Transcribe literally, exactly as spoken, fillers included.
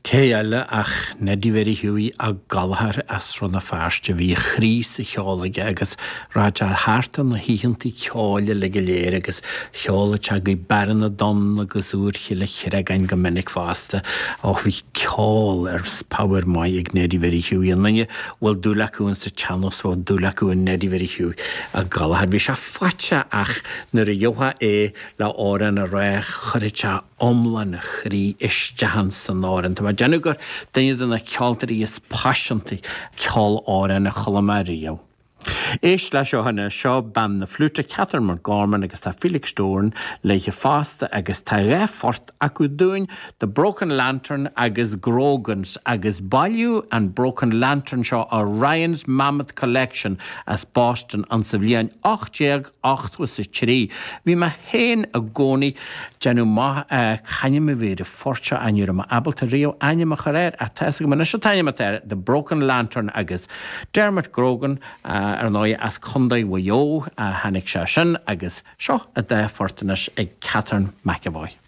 Cé eile ach Neddy Mhary Hughie Ó Gallchóir as Rann na Feirste bhí a chroí sa cheol aige agus rachadh sé thart ar na hoícheantaí ceoil uilig go léir agus cheoladh sé go Bearna Donn agus Iúr Chille Chreagáin go minic fosta. Ó bhí ceol ar pabhar maith ag Neddy Mhary Hughie an duine bhfuil dúil acu in sa tsean-nós bhfuil dúil acu in Neddy Mhary Hughie Ó Gallchóir. Bhí sé faighte ach nuair a gheofá é le amhrán a rá chuirfeadh sé iomlán a chroí isteach san amhrán. Tá mé ag déanamh gur duine de na ceoltóirí is paiseanta ceol amhrán a chuala mé riamh. Éist le seo anois seo bean na fliúite Catherine McGorman agus tá Felix Doran léithe fosta agus tá dhá phort acu dúinn The Broken Lantern agus Grogans agus bailíodh an Broken Lantern seo ó Ryan's Mammoth Collection as Boston an sa bhliain ocht déag ochtó is a trí. Bhí mé féin i gcónaí déanamh maith c'ainm a bhí ar an phort seo ní raibh mé ábalta riamh ainm a chur air ach tá agam anois an t-ainm atá air The Broken Lantern agus Dermot Grogan ar ndóigh as Contae Mhaigh Eo a tháinig sé sin agus seo a dá phort anois ag Catherine McEvoy.